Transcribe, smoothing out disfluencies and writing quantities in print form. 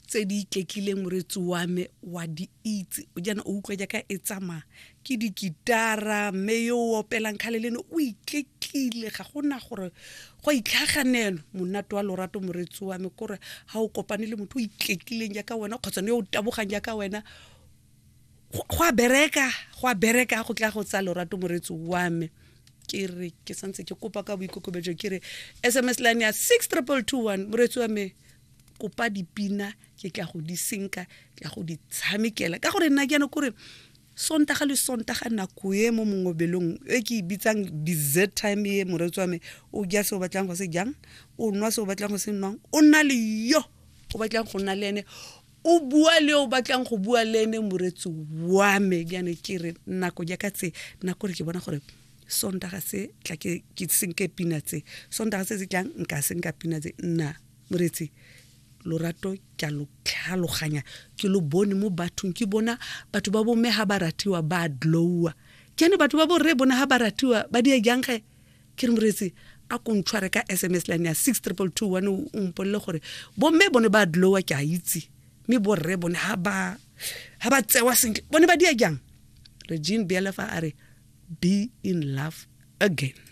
Tse di iketlileng moretsi wa me wa di itse o jaana o utlwa jaaka e tsamaya ke dikitara mme yo o opelang kgale le ene o iketlile ga gona gore go itlhaganelo monate wa lorato moretsi wa me kore ga o kopane le motho o iketlileng jaaka wena kgotsa ne yo o tabogang jaaka wena go a bereka go a bereka go tla go tsa lorato moretsi wa me ke re ke santse ke kopa ka boikokobetso ke re sms line ya six triple two one moretsi wa me kopa dipina ke tla go di senka ke tla go di tshamekela ka gore nna ke yana kore sontaga le sontaga nako e mo mongobelong e ke e bitsang dessert time e moreetsi wa me o ja se o batlang go se jang o nwa se o batlang go se nwang o nna le yo o batlang go nna le ene o bua le o batlang go bua le ene moreetsi wa me jaanong ke re nako jaaka tse nako re ke bona gore sontaga se tla ke senke pina tse sontaga se se tlang nka senka pina tse nna Moreetsi, lorato ke a lo tlhaloganya, ke lo bone mo bathong, ke bona batho ba bomme ha ba ratiwa ba glowa. Ke ane batho ba borre bona ha ba ratiwa ba dia jang ge? Ke re moreetsi, a ko ntshware ka SMS line ya 62221 o mpolele gore bomme bone ba glowa ke a itse, mme borre bone ha ba ha ba tsewa sentle bone ba dia jang? Regine Bialefa a re be in love again.